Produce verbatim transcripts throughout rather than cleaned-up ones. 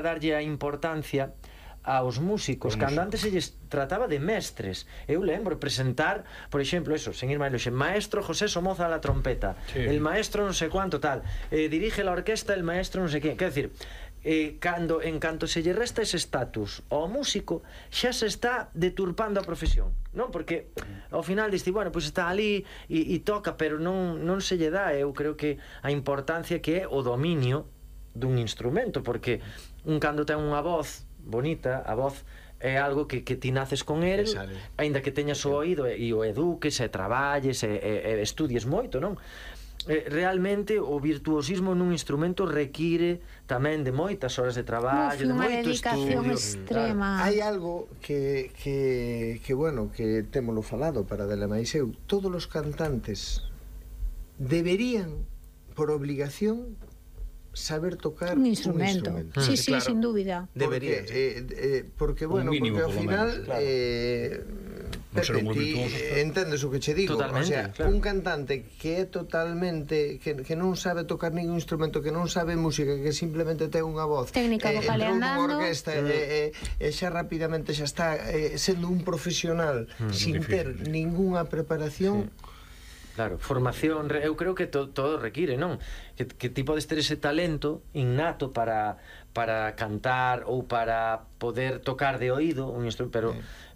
darlle a importancia aos músicos, cando antes se lles trataba de mestres. Eu lembro presentar, por exemplo, eso, sen ir máis lonxe, maestro José Somoza a la trompeta, sí. El maestro non sei cuánto tal, eh, dirige la orquesta el maestro non sei quen. Quer decir, eh, cando, en canto se lle resta ese estatus ao músico, xa se está deturpando a profesión, non? Porque ao final diste, bueno, pois pues está ali e, e toca, pero non, non se lle dá. Eu creo que a importancia que é o dominio dun instrumento, porque un cando ten unha voz bonita, a voz é algo que, que ti naces con el, aínda que teñas o oído e, e o eduques e traballes e, e, e estudies moito, non? Eh, realmente o virtuosismo nun instrumento require tamén de moitas horas de traballo, de moito estudio extrema. Hai algo que, que, que bueno, que témolo falado para dela máis eu, todos os cantantes deberían por obligación saber tocar un instrumento, un instrumento. Sí, sí, claro, sin dúbida. Debería, porque, eh, eh, porque bueno, porque ao final menos, claro. eh, Pepe, ti entendes o que che digo. Totalmente, o sea, claro. Un cantante que é totalmente que, que non sabe tocar ningún instrumento, que non sabe música, que simplemente ten unha voz técnica eh, vocal andando, orquesta, mm. eh, eh, xa rapidamente xa está eh, sendo un profesional mm, sin difícil, ter sí. ninguna preparación. Sí. Claro, formación, eu creo que to, todo require, non? Que, que ti podes ter ese talento innato para, para cantar ou para poder tocar de oído un instrumento, pero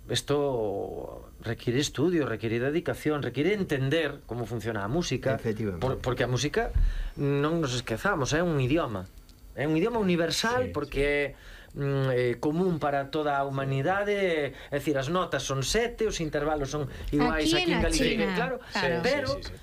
isto sí. require estudio, require dedicación, require entender como funciona a música, por, porque a música non nos esquezamos, é un idioma, é un idioma universal, sí, porque sí. Eh, común para toda a humanidade, é dicir, as notas son sete, os intervalos son iguais aquí, aquí en Galicia, claro, claro. Pero, sí, sí, sí.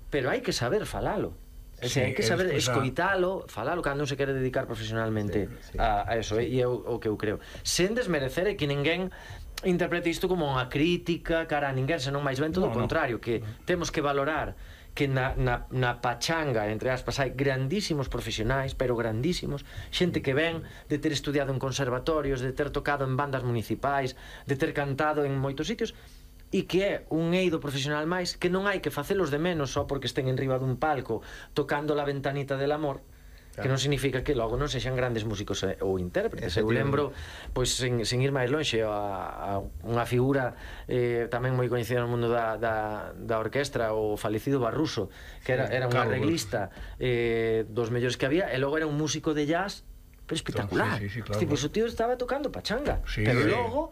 pero hai que saber falalo. É dicir, sí, hai que saber escoitalo, falalo cando non se quere dedicar profesionalmente sí, sí. A, a eso, sí. E é o, o que eu creo. Sen desmerecer é que ninguén interprete isto como unha crítica cara a ninguén, senón máis ben todo o no, contrario, que no. temos que valorar que na, na, na pachanga, entre aspas, hai grandísimos profesionais, pero grandísimos, xente que ven de ter estudiado en conservatorios, de ter tocado en bandas municipais, de ter cantado en moitos sitios, e que é un eido profesional máis que non hai que facelos de menos só porque estén en riba dun palco tocando La ventanita del amor, claro. Que non significa que logo non sexan grandes músicos ou intérpretes. Eu lembro, pois, sen, sen ir máis lonxe, a, a unha figura eh, tamén moi coñecida no mundo da, da, da orquestra, o falecido Barruso, que era, era un arreglista eh, dos mellores que había, e logo era un músico de jazz pero espectacular. Sí, sí, sí, claro, tipo, claro. O tío estaba tocando pachanga, sí, pero eh. logo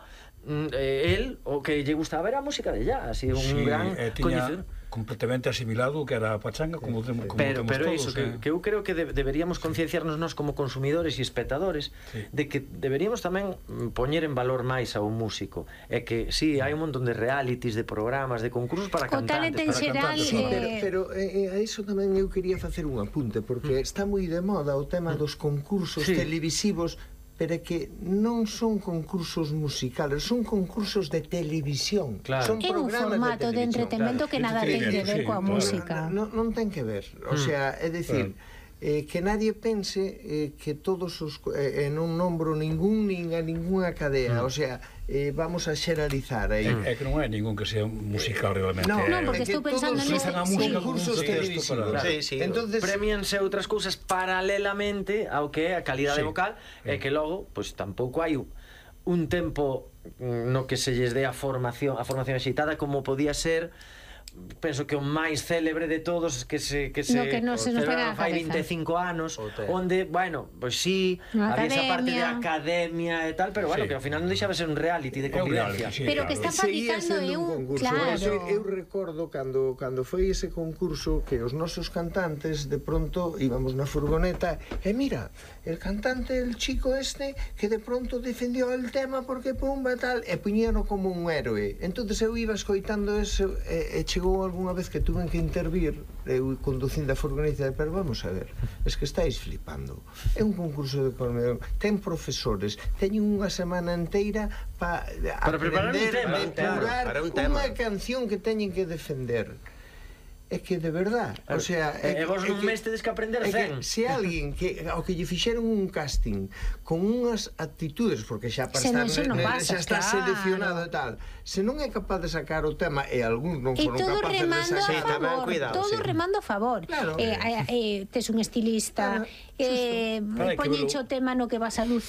eh, el, o que lle gustaba era a música de jazz, e un sí, gran eh, coñecedor completamente asimilado que era a pachanga, como, sí. como pero, temos pero todos, iso, eh. que, que eu creo que de, deberíamos concienciarnos nós como consumidores e espectadores sí. de que deberíamos tamén poñer en valor máis a un músico, é que sí, hai un montón de realities, de programas, de concursos para cantantes, para cantantes sí, pero, pero eh, a iso tamén eu quería facer un apunte, porque mm. está moi de moda o tema mm. dos concursos sí. televisivos, pero que non son concursos musicales, son concursos de televisión. Claro. Son é un formato de, de entretenimento claro. que nada ten que ver sí, coa claro. música. Non, non ten que ver, o sea, é dicir, eh, que nadie pense eh, que todos os eh, non nombro ningún nin a ninguna cadea, mm. o sea, eh, vamos a xeralizar aí. É, é que non hai ningún que sea musical realmente. No, no, porque estou pensando en a música concursos televisivos. Claro. Sí, sí. Entonces premianse outras cousas paralelamente ao que é a calidade sí. vocal, e sí. que logo, pois pues, tampouco hai un tempo no que se lles dé a formación, a formación axitada como podía ser. Penso que o máis célebre de todos que se que se, no, que no se nos pega a fai vinte e cinco anos, onde, bueno, pois pues sí, no, había esa parte de academia e tal, pero bueno, sí. que ao final non deixaba ser un reality de convivencia. Sí, pero claro. que está fabricando é un, un claro. Eu, eu recordo cando cando foi ese concurso que os nosos cantantes de pronto íbamos na furgoneta e mira, el cantante, el chico este que de pronto defendió el tema porque pumba tal, e puñeron como un héroe. Entonces eu iba escoitando eso e, e chegou algunha vez que tuven que intervir eu conducindo a furgoneta, pero vamos a ver, es que estáis flipando, é un concurso de comedia, ten profesores, teñen unha semana inteira pa para aprender a depurar unha canción que teñen que defender. É que de verdad, o sea, e vos non mes tedes que aprender zen. Se alguén que ao que lle fixeron un casting con unhas actitudes, porque xa para estar no xa está seleccionado e tal, se non é capaz de sacar o tema e algúns non foron capaces de sacar, tamén cuidado, todo remando a favor. Eh, tes un estilista, eh, poñenche o tema no que vas a lucir.